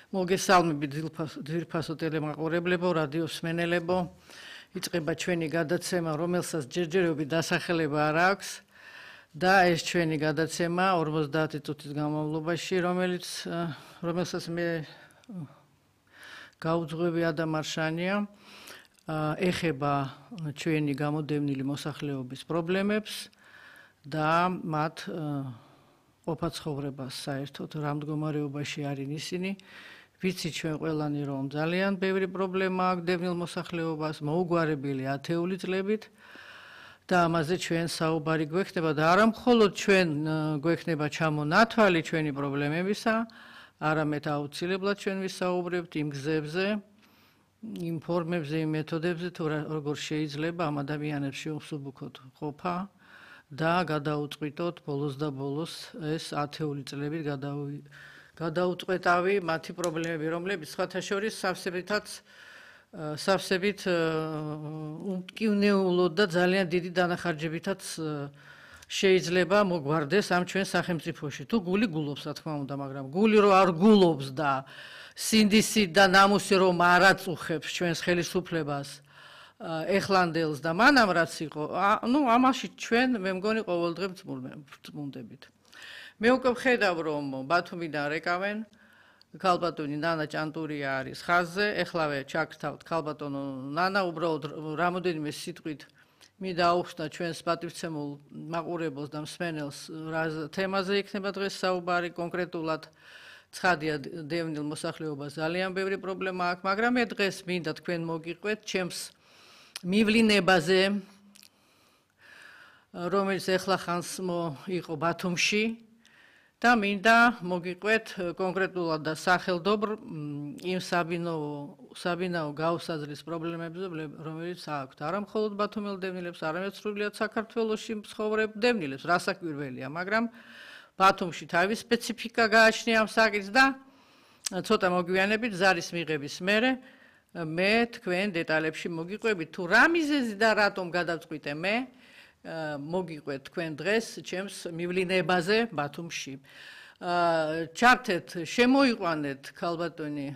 მოგესალმებით ძვირფასო ტელემაყურებლებო, რადიოს მსმენელებო. იწყება ჩვენი გადაცემა, რომელსაც ჯერჯერობით დასახელება არ აქვს და ეს ჩვენი გადაცემა 50 წუთის განმავლობაში, რომელსაც მე გაუძღვები ადამ არშანია, ეხება ჩვენი გამოდევნილი მოსახლეობის პრობლემებს და მათ ყოფაცხოვრებას საერთოდ რა მდგომარეობაში არიან ისინი. ვიცით ჩვენ ყველანი რომ ძალიან ბევრი პრობლემა აქვს დევნილ მოსახლეობას, მოუგვარებელი ათეული წლებით და ამაზე ჩვენ საუბარი გვექნება და არა მხოლოდ ჩვენ გვექნება ჩამონათვალი ჩვენი პრობლემებისა, არამედ აუცილებლად ჩვენ ვისაუბრებთ იმ გზებზე, იმ ფორმებზე, იმ მეთოდებზე, თუ როგორ შეიძლება ამ ადამიანებს შეუსუბუქოთ ყოფა და გადაუწყვიტოთ ბოლოს და ბოლოს ეს ათეული წლებით გადაუწყვეტავი მათი პრობლემები, რომლებიც სხვათა შორის სავსებით უმტკივნეულოდ და ძალიან დიდი დანახარჯებითაც შეიძლება მოგვარდეს ამ ჩვენ სახელმწიფოში. თუ გული გულობს, რა თქმა უნდა, მაგრამ გული რო არ გულობს და სინდისი და ნამუსი რომ არ აწუხებს ჩვენს ხელისუფლებას, ეხლანდელს და მანამ რაც იყო, ამაში ჩვენ მე მგონი ყოველდღე ვწმუნდებით. მე უკვე ვხედავ რომ ბათუმიდან რეკავენ, ქალბატონი ნანა ჭანტურია არის ხაზზე, ეხლავე ჩაგრთავთ ქალბატონო ნანა, უბრალოდ რამოდენიმე სიტყვით მინდა აუხსნა ჩვენს პატივცემულ მაყურებელს და მსმენელს რა თემაზე იქნება დღეს საუბარი კონკრეტულად. ცხადია დევნილ მოსახლეობას ძალიან ბევრი პრობლემა აქვს, მაგრამ მე დღეს მინდა თქვენ მოგიყვეთ ჩემს მივლინებაზე, რომელიც ეხლახანს იყო ბათუმში და მინდა მოგიყვეთ კონკრეტულად და სახელდობრ იმ საბინაო გაუსაძლის პრობლემებზე, რომელიც აქვთ არა მხოლოდ ბათუმელ დევნილებს, არამედ სრულიად საქართველოში მცხოვრებ დევნილებს, რასაკვირველია, მაგრამ ბათუმში თავის სპეციფიკა გააჩნია ამ საკითხს და ცოტა მოგვიანებით ზარის მიღების მერე მე თქვენ დეტალებში მოგიყვებით თუ რა მიზეზი და რატომ გადავწყვიტე მე მოგიყვეთ თქვენ დღეს ჩემს მივლინებაზე ბათუმში. ჩართეთ, შემოიყვანეთ ქალბატონი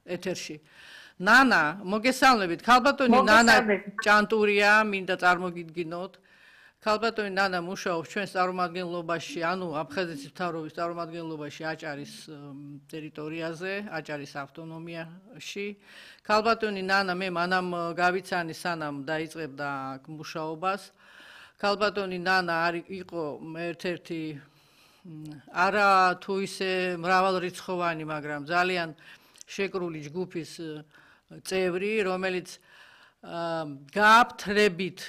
ეთერში. ნანა, მოგესალმებით. ქალბატონი ნანა ჭანტურია, მინდა წარმოგიდგინოთ. ქალბატონი ნანა მუშაობს ჩვენს წარმომადგენლობაში, ანუ აფხაზეთის მთავრობის წარმომადგენლობაში აჭარის ტერიტორიაზე, აჭარის ავტონომიაში. ქალბატონი ნანა მე მანამ გავიცანი სანამ დაიწყებდა მუშაობას. ქალბატონი ნანა იყო ერთ-ერთი არა თუ ისე მრავალრიცხოვანი, მაგრამ ძალიან შეკრული ჯგუფის წევრი, რომელიც გააფთრებით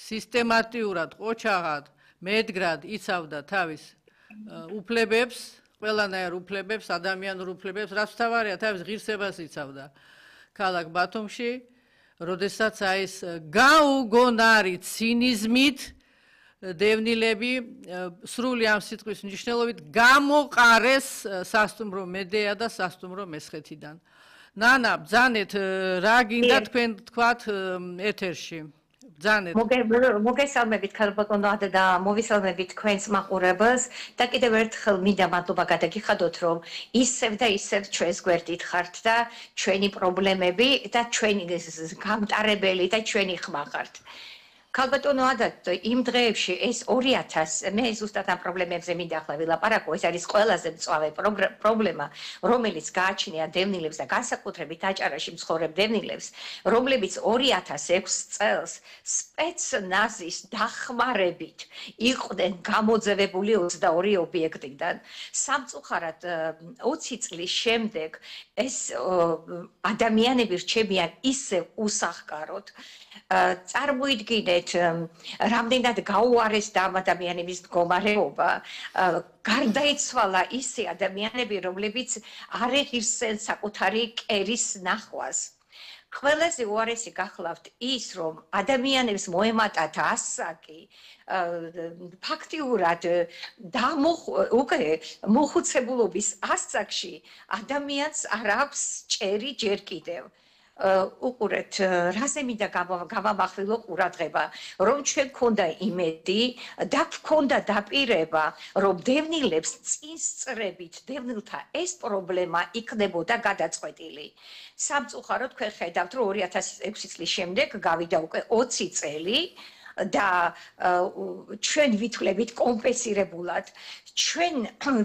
სისტემატიურად, ყოჩაღად, მედგრად იცავდა თავის უფლებებს, ყველანაირ უფლებებს, ადამიანურ უფლებებს, რაც მთავარია, თავის ღირსებას იცავდა ქალაქ ბათუმში, როდესაც ეს გაუგონარი ცინიზმით დევნილები სრული ამ სიტყვის მნიშვნელობით გამოყარეს სასტუმრო მედეა და სასტუმრო მესხეთიდან. ნანა, ბრძანეთ, რა გინდა თქვენ თქვათ ეთერში? მოგესალმებით ქალბატონო და მოვისალმებით თქვენს მაყურებელს და კიდევ ერთხელ მინდა მადლობა გადაგიხადოთ რომ ისევ და ისევ ჩვენს გვერდით ხართ და ჩვენი პრობლემები და ჩვენი გამტარებელი და ჩვენი ხმა ხართ. ქალბატონო იმ დღეებში ეს 2000 მე ზუსტად ამ პრობლემებზე მინდა ახლა ვილაპარაკო, ეს არის ყველაზე მწვავე პრობლემა, რომელიც გააჩნია დევნილებს და განსაკუთრებით აჭარაში მცხოვრებ დევნილებს, რომლებიც 2006 წელს სპეცნაზის დახმარებით იყვნენ გამოძევებული 22 ობიექტიდან. სამწუხარად 20 წლის შემდეგ ეს ადამიანები რჩებიან ისევ უსახკაროდ. წარმოიდგინეთ, რამდენად გაუარესდა ამ ადამიანების მდგომარეობა, გარდაიცვალა ისე ადამიანები, რომლებიც არ ეღირსენ საკუთარი კერის ნახვას. ყველაზე უარესი გახლავთ ის, რომ ადამიანებს მოემატათ ასაკი, ფაქტიურად მოხუცებულობის ასაკში ადამიანს არ აქვს ჭერი ჯერ კიდევ. უყურეთ, რაზე მინდა გავამახვილო ყურადღება, რომ ჩვენ გქონდა იმედი და გქონდა დაპირება, რომ დევნილებს წინ სწრებით დევნილთა ეს პრობლემა იქნებოდა გადაწყვეტილი. სამწუხაროდ თქვენ ხედავთ, რომ 2006 წლის შემდეგ გავიდა უკვე 20 წელი და ჩვენ ვითვლებით კომპენსირებულად ჩვენ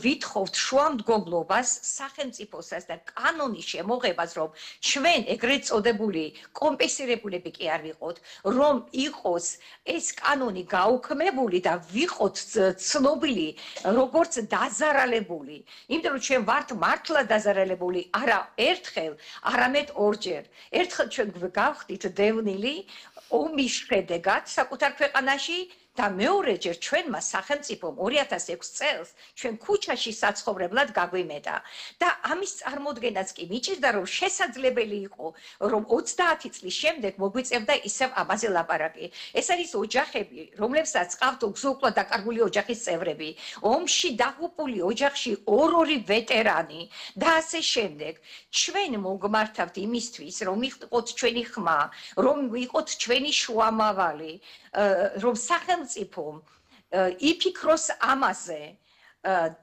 ვითხოვთ შუამდგომლობას სახელმწიფოსაც და კანონის შემოღებას რომ ჩვენ ეგრეთ წოდებული კომპენსირებულები კი არ ვიყოთ რომ იყოს ეს კანონი გაუქმებული და ვიყოთ ცნობილი როგორც დაზარალებული იმიტომ რომ ჩვენ ვართ მართლა დაზარალებული არა ერთხელ არამედ ორჯერ ერთხელ ჩვენ გავხდით დევნილი ომის შედეგად საკუთარ ქვეყანაში და მეორეჯერ ჩვენმა სახელმწიფომ 2006 წელს ჩვენ ქუჩაში საცხოვრებლად გაგვიმეტა და ამის წარმოდგენაც კი მიჭირდა რომ შესაძლებელი იყო რომ 30 წლის შემდეგ მოგვიწევდა ისევ ამაზე ლაპარაკი ეს არის ოჯახები რომლებსაც ყავთ უგზო-უკვლოდ დაკარგული ოჯახის წევრები ომში დაღუპული ოჯახში ორ-ორი ვეტერანი და ასე შემდეგ ჩვენ მოგმართავთ იმისთვის რომ იყოთ ჩვენი ხმა რომ იყოთ ჩვენი შუამავალი რომ სახელმწიფომ იფიქროს ამაზე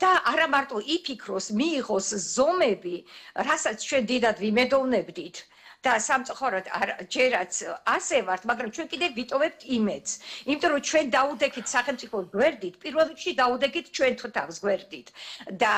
და არა მარტო იფიქროს მიიღოს ზომები რასაც ჩვენ დიდად ვიმედოვნებდით და სამწუხაროდ ჯერაც ასე ვართ მაგრამ ჩვენ კიდევ ვიტოვებთ იმედს იმიტომ რომ ჩვენ დაუდექით სახელმწიფოს გვერდით პირველ რიგში დაუდექით ჩვენ თავს გვერდით და